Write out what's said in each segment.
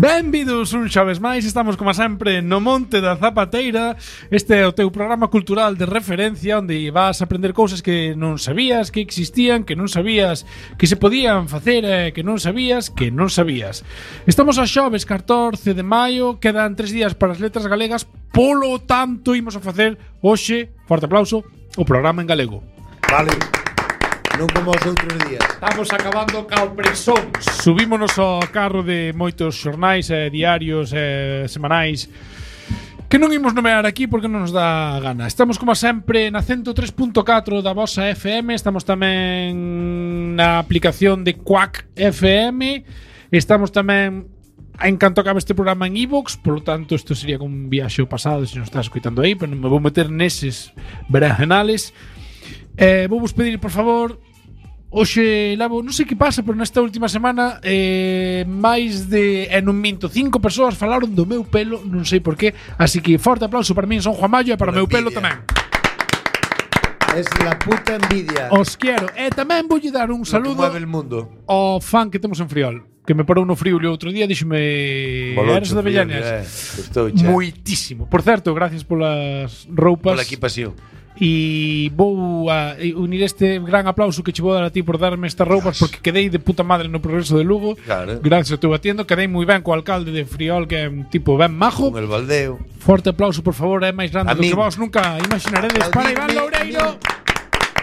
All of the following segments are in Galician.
Benvidos un xoves máis, estamos como sempre no Monte da Zapateira. Este é o teu programa cultural de referencia onde vas a aprender cousas que non sabías que existían, que non sabías que se podían facer e que non sabías que non sabías. Estamos a xoves 14 de maio, quedan 3 días para as letras galegas, polo tanto imos a facer hoxe, forte aplauso, o programa en galego. Vale. Non como os outros días. Estamos acabando cao presón. Subímonos ao carro de moitos xornais, diarios, semanais que non imos nomear aquí porque non nos dá gana. Estamos como sempre na 103.4 da vosa FM. Estamos tamén na aplicación de Quack FM. Estamos tamén en canto acabe este programa en iVoox. Por lo tanto, isto sería como un viaxe ao pasado se non estás escoitando aí, pero non me vou meter neses berenjenales. Vou vos pedir, por favor, hoxe levo, non sei que pasa, pero nesta última semana máis de, non minto, 5 persoas falaron do meu pelo, non sei por qué, así que forte aplauso para min, son Juan Mayo, e para o meu pelo tamén. Es la puta envidia. Os quero. E tamén voulle dar un saludo mueve el mundo. ao fan que temos en Friol, que me parou no frío o outro día, díxome, eres de Avellanes? Moitísimo. Por certo, gracias polas roupas. Pola equipación. E vou a unir este gran aplauso que che vou dar a ti por darme estas roupas, porque quedei de puta madre no Progreso de Lugo. Claro. Gracias a teu atiendo, quedei moi ben co alcalde de Friol, que é un tipo ben majo. Con el baldeo. Forte aplauso, por favor, é máis grande do que vos nunca imaginaredes para Iván Loureiro.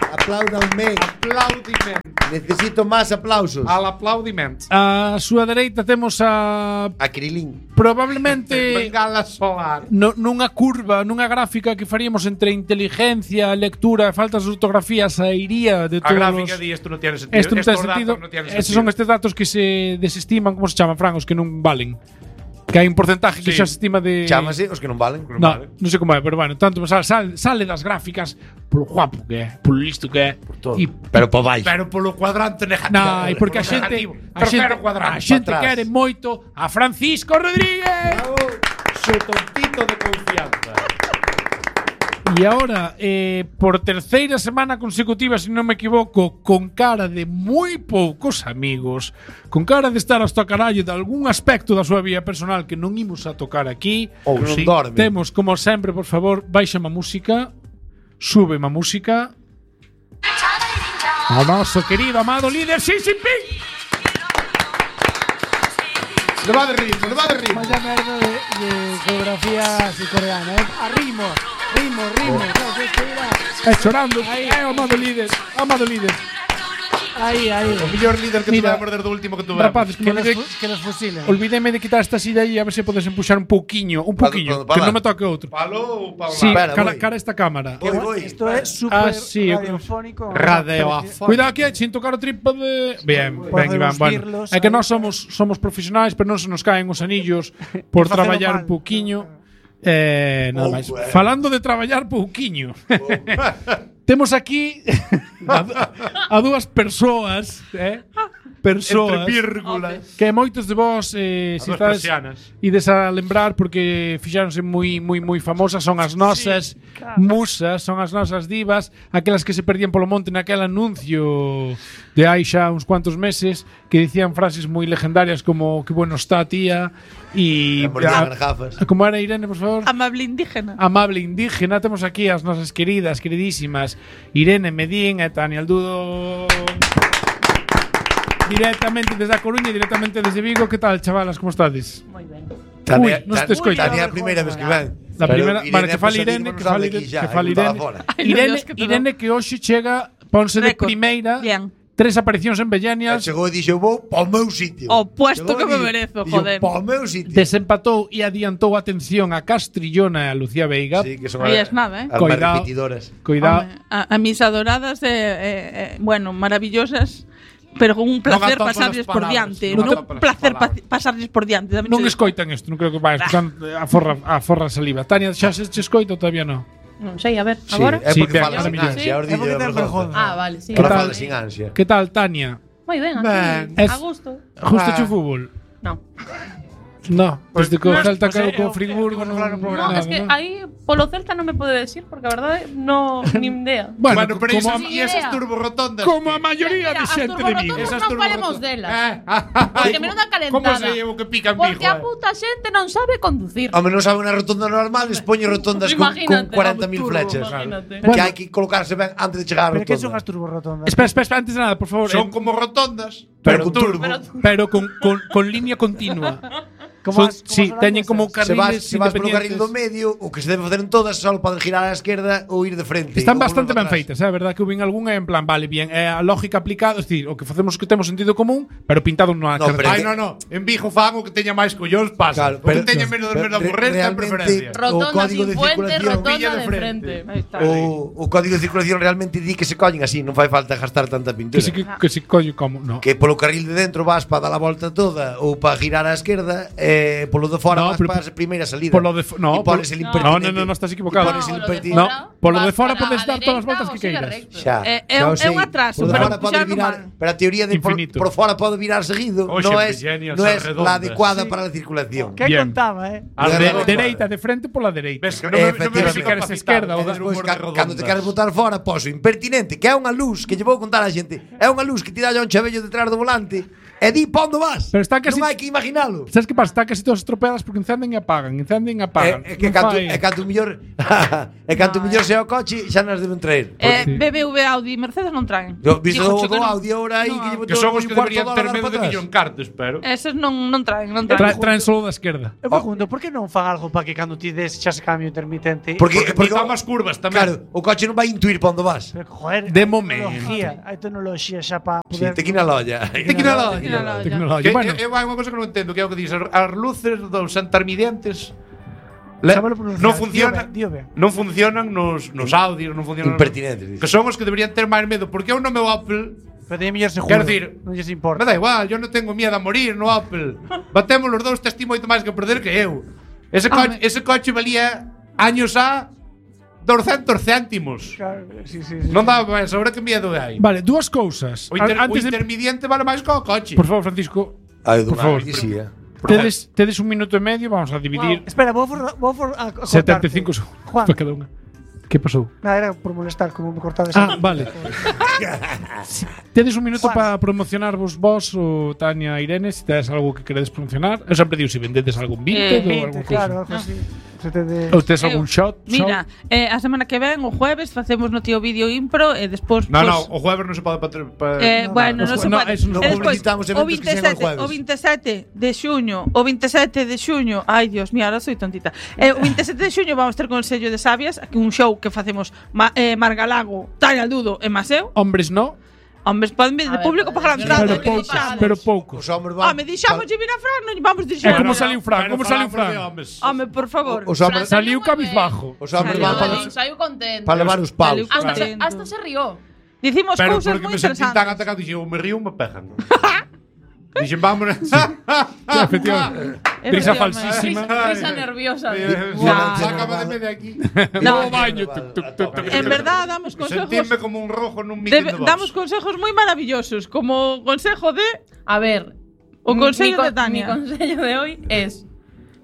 Apláudanme. Aplaudiment. Necesito máis aplausos. Al aplaudiment. A súa dereita temos a Krilin. probablemente Bengala solar. nunha curva, nunha gráfica que faríamos entre inteligencia, lectura e faltas de ortografía, sairía de todos. A gráfica di isto non tiene sentido. Isto non ten sentido. Esos son estes datos que se desestiman, como se chaman, Fran, os que non valen. Que hai un porcentaje que xa se estima de... Chámase os que non valen. Non sei como é, pero bueno, tanto sale das gráficas polo guapo que é, polo listo que é, por todo. Pero por baixo. Pero polo cuadrante negativo. Non, e porque a xente quere moito a Francisco Rodríguez. Su tontito de confianza. E agora, por terceira semana consecutiva, se non me equivoco, con cara de moi poucos amigos, con cara de estar hasta carallo de algún aspecto da súa vida personal que non imos a tocar aquí, ou non dorme. Temos, como sempre, por favor, baixa a música, sube a música, ao noso querido, amado líder Xi Jinping. Le va de ritmo. Vaya merda de geografía coreana, Arrimo. Chorando. Amado líder. Aí. O mellor líder que tuve a perder do último que tuve. Rapaces, que nos fusilen. Olvídeme de quitar esta silla aí a ver se podes empuxar un pouquiño, que non me toque outro. Palo ou pa sí, cara esta cámara. Isto é super radiofónico. Cuidado aquí, sin tocar o trípode. Bien, Iván, bueno. É que nós somos profesionais, pero non se nos caen os anillos por traballar un pouquiño. Nada máis. Falando de traballar pouquiño. Temos aquí a dúas persoas, entre vírgulas, que moitos de vos se estades ides a lembrar porque fixáronse moi famosas, son as nosas musas, son as nosas divas, aquelas que se perdían polo monte naquel anuncio de hai xa uns cuantos meses que dicían frases moi legendarias como que bueno está tía e como era Irene, por favor? Amable indígena. Temos aquí as nosas queridísimas Irene Medín e Tania Aldudo. Directamente desde A Coruña, directamente desde Vigo. Que tal, chavalas, como estades? Moi ben. Tania, non te escoito. Tania a primeira vez que ven. La primeira, vale, que fale Irene, Irene que hoxe chega, ponse de primeira. 3 aparicións en Bellenias. Chegou e dixo, vou ao meu sitio. O puesto que me merezo, joder. Ao meu sitio. Desempatou e adiantou atención a Castrillona e a Lucía Veiga. Sí, que son as nada, as máis repetidoras. Cuidado. A mis adoradas, bueno, maravillosas. Pero con un placer pasarles por diante. Un placer pasarles por diante. Non escoitan isto, non creo que vai escoitan a forra saliva. Tania, xa se escoita ou todavía non? Non sei, a ver, agora? É porque fala sin ansia. Vale, sí. Ahora fala sin ansia. Que tal, Tania? Moi ben, aquí, a gusto. Justo o fútbol? Non. No, desde que o Pues, Celta pues, quedou co eu- Friburgo eu- non claro, No, nada, es que ¿no? aí polo Celta non me pode decir porque a verdade no ni idea. Bueno, Bueno, pero como, esas turborrotondas. como a maioría de Mira, xente as de Vigo. turborrotondas non falemos delas. Porque menuda calentada. Como se llevo que pican Porque pijo? a puta xente non sabe conducir. Home, non sabe unha rotonda normal, les poñe rotondas con Imagínate, 40.000 flechas. Imagínate. Que hai que colocarse ben antes de chegar á Pero que son rotonda. as turborrotondas? Espera, antes de nada, por favor. Son como rotondas, Pero pero con turbo. Pero con línea continua. Como Sí, teñen como carriles Se vas polo carril do independientes. medio, o que se debe facer en todas só podes girar á esquerda ou ir de frente. Están ou bastante volver ben para feitas, atrás. é verdad que houve algunha en plan, vale, bien, é a lógica aplicada, é dicir, o que facemos que temos sentido común, pero pintado nunha No, pero- Ai, no. En Vigo fan o que teña máis collóns pasa. Claro, o que teña menos pero aburrer ten realmente- preferencia. Rotonda código sin de puente, circulación rotonda pilla de de frente. frente. Aí está. O código de circulación realmente di que se coñen así, non fai falta gastar tanta pintura. que si collo como, no. Que polo carril de dentro vas para dar a volta toda ou para girar á esquerda, polo de fora No, vas pero para a primeira salida. Polo de no, e pones el impertinente. no, estás equivocado. E pones el No, impertinente. No, polo de vas fora para podes a dar todas as dereita voltas ou que sigue queiras. recto. Xa, É xa o un sei. atraso, Por pero fora pode xa non virar, mal. pero a teoría de Infinito. por fora pode virar seguido, Oxe, non é Virginia, non é esas la redondas. adecuada para a circulación. Que Bien. contaba, As De- de Dereita, de frente pola dereita. Ves que non me Efectivamente. Si queres esquerda ou Despois, humor de cando te queres redondas. botar fora, poso impertinente, que é unha luz que lle vou contar á xente. É unha luz que ti dalle a un chavello detrás do volante e di pa onde vas. Pero está casi- Non hai que imaginalo. Sabes que pasa? Está casi todas estropeadas porque encenden e apagan, É que Non canto, fai- é canto mellor é canto mellor sea o coche, xa nos deben traer. Sí. BBV, Audi, Mercedes non traen. Yo visto Dígocho do que non. Audi ahora aí No. que llevo Que todo son os un que cuarto deberían de ter hora medo para de que atrás. yo encartes, pero. Eses non traen, non traen. Traen solo da esquerda. Eu pregunto, por que non fan algo para que cando ti des xa se cambio intermitente? Porque Porque máis curvas tamén. Claro, o coche non vai intuir para onde vas. Pero, joder, De hai momento. tecnoloxía xa para Sí, poder... te quina a lolla. Tecnología. Que, Bueno, hai unha cosa que non entendo, que é o que dices, as luces dos intermedientes Sábelo pronunciar. non funcionan, Dío ben. non funcionan nos audios, non funcionan. Impertinentes, Que dices. son os que deberían ter máis medo, porque eu no meu Apple Pero teñen mellor seguro. Quero decir, non lles me importa. da igual, yo non tengo miedo a morir no Apple. Batemos los dous, tes ti moito máis que perder que eu. Ese coche valía años a 200 céntimos. Claro, sí. Non daba máis, ahora que miedo hai. vale, dúas cousas. O Antes de intermediente vale máis que o coche. Por favor, Francisco, Ai, Por favor. tedes un minuto e medio, vamos a dividir Espera, vou a 75 segundos Juan. para cada unha. Que pasou? Nada, era por molestar, como me cortades. Ah, vale. Tedes un minuto Juan. para promocionarvos vos ou Tania e Irene, se tedes algo que queredes promocionar. Eu sempre digo se vendedes algún Vinted ou 20, algún claro, cousa. algo así. Se te de... Ou tedes algún shot. Mira, a semana que ven, o jueves, facemos no tío vídeo impro e despois No, pues, no, o jueves non se pode bueno, non se no, pode. eso non E despois, publicitamos o eventos que sean os 27, jueves. o 27 de xuño, ai Dios mío, ahora soy tontita. O 27 de xuño vamos ter con el sello de Sabias, aquí un show que facemos Margalago, Tania Aldudo e Maseu. Hombres no, Hombres, poden vir de público pagar a entrada. pero poucos. Os hombres van. Me dixamos de vir a Fran, non vamos É dixer. como saliu Fran, como saliu Fran. Home, por favor. Os hombres Saliu cabizbajo. Os hombres van para Saiu contento. para levar os paus. Saliu contento. Hasta se rió. Dicimos Pero cousas porque moi me sentí tan interesantes. atacado, dixen, me río, me pegan. Dixen, vámonos. Efectivamente. Risa falsísima. Risa nerviosa. Sácame de medio aquí. No, No baño. en verdad damos consejos. Sentirme como un rojo nun meeting de Vox. Damos consejos moi maravillosos, como consejo de A ver, O consello de Tania. Mi consello de hoy es: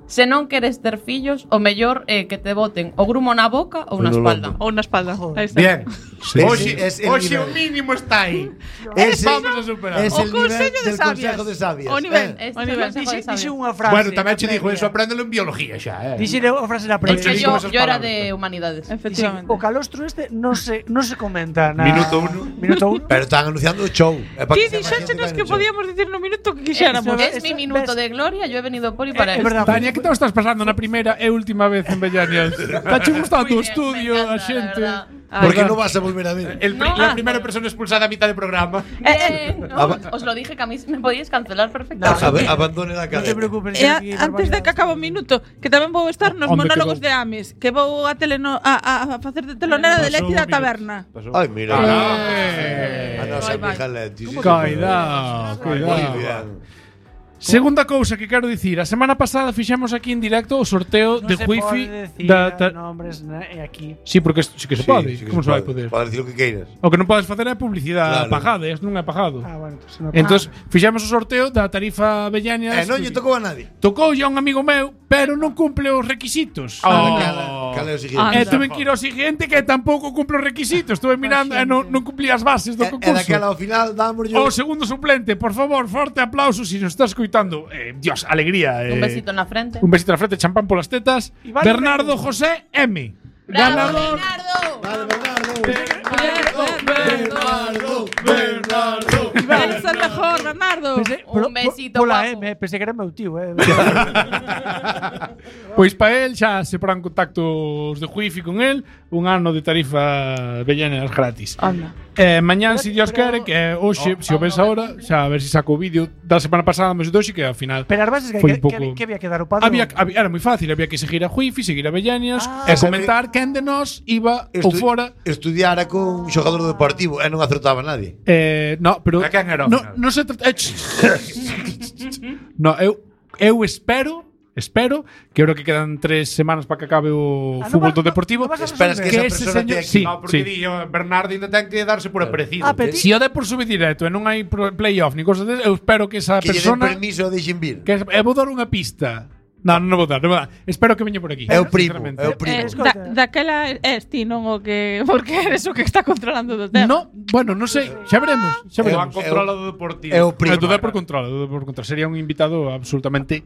se non queres ter fillos, o mellor é que te boten o grumo na boca ou na No espalda. ou na espalda. Aí está. Bien. Ese es el Hoxe o nivel. mínimo está aí. Ese- Vamos a superar. Es O el nivel consello de del sabias. consejo de sabias. O nivel. Este O é o nivel. consejo de Dixe sabias. unha frase. Bueno, tamén che na dijo previa. eso, apréndelo en biología xa, Dixe a frase na previa. Es que digo yo esas era palabras. de humanidades. Efectivamente. O calostro este non se comenta na Minuto uno. Minuto 1. Pero están anunciando o show. É para Ti que sea máis xente dixéchenos que que vaya no show. podíamos dicir no minuto que quixéramos. Es mi minuto de gloria, yo he venido por y para É esto. verdade. Tania, que te estás pasando na primeira e última vez en Bellanias? Tache gustado o Muy bien, estudio, me a encanta, xente. la verdad. Porque non vas a volver a ver. La primera persona expulsada a mitad de programa. Bien, ¿no? Os lo dije que a mí me podíais cancelar perfectamente. Abandone la Non te cadena. preocupes. E antes de que acabe o minuto, que tamén vou estar nos Onde monólogos quedou? de Ames, que vou a facer de telonera de Leti da taberna. Ai, mira. A nosa Vai, vai. amiga Leti. sí, Cuidado, Muy cuidado. bien. Segunda cousa que quero dicir, a semana pasada fixemos aquí en directo o sorteo Non de se Wi-Fi pode decir nombres aquí. Sí, porque sí que se pode. Sí que Como se vai poder? Podes dicir o que queiras. O que non podes facer é publicidade Claro. pagada, isto non é pagado. Bueno, entonces non. Entón, fixemos o sorteo da tarifa Bellañas. Non lle tocou a nadie. Tocou a un amigo meu, pero non cumple os requisitos. Cal é o seguinte? Anda. E tuve que ir ao seguinte que tampouco cumple os requisitos. Estuve mirando e non cumplía as bases do E concurso. daquela ao final dámoslle O segundo suplente, por favor, forte aplauso si nos estás escoitando. Dios, alegría. Un besito na frente. Un besito na frente, champán polas tetas. vale Bernardo José M. ¡Bravo, Ganador. Bernardo. Eres el mejor, Bernardo. Un besito, Pola guapo. M, pensei que era meu tío, Pois para él xa se porán contactos de Wi-Fi con él, un ano de tarifa Bellañas gratis. Anda. Mañán, se Dios quere, que é hoxe, se o ves ahora, xa a ver se saco o vídeo da semana pasada, mas de hoxe que ao final Pero as bases foi que, un pouco. que había que dar o padrón. Era moi fácil, había que seguir a Wi-Fi, seguir a Bellañas e Sabe- comentar quen de nós iba ou fora. Estudiara con un xogador deportivo e non acertaba nadie. No, pero A quen era ao no, final? non se trata. No, eu espero que ahora que quedan 3 semanas para que acabe o Ah, fútbol non do vas- Deportivo. non vas a Esperas que que esa ese persona señor, te aquí. sí, No, porque sí. Bernardo ainda ten que darse por aparecido. Si o de por sube directo e non hai playoff ni cosas de, eu espero que esa Que lle den persona permiso de deixen vir. que vou dar unha pista. Non vou dar. Espero que veña por aquí. É o primo, sinceramente. é o primo. Daquela es ti, non o que porque eres o que está controlando do tema. No, bueno, non sei, xa veremos, xa O han veremos. controlado do Deportivo. É o primo. Do por control, sería un invitado absolutamente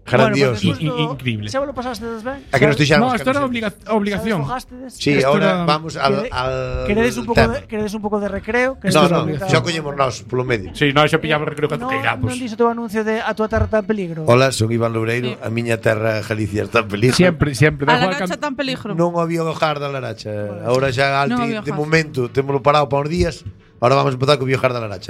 Grandioso. increíble. Xa vos lo pasastedes ben? A que nos No, deixamos isto era obligación. Sí, Esto ahora era- vamos al Queredes un pouco de recreo? Que No, esto no, é xa collemos nós polo medio. Sí, no, xa pillaba recreo cando Non queiramos. dixo o teu anuncio de A tua terra está en peligro? Hola, son Iván Loureiro, a miña terra Galicia está en peligro. Siempre, da A la igual noche cando- tan peligro. Non o había hojar da Laracha. Ahora xa Non Altri, había de hojar. momento, témolo parado para uns días. Ahora vamos a empezar co Biojar da Laracha.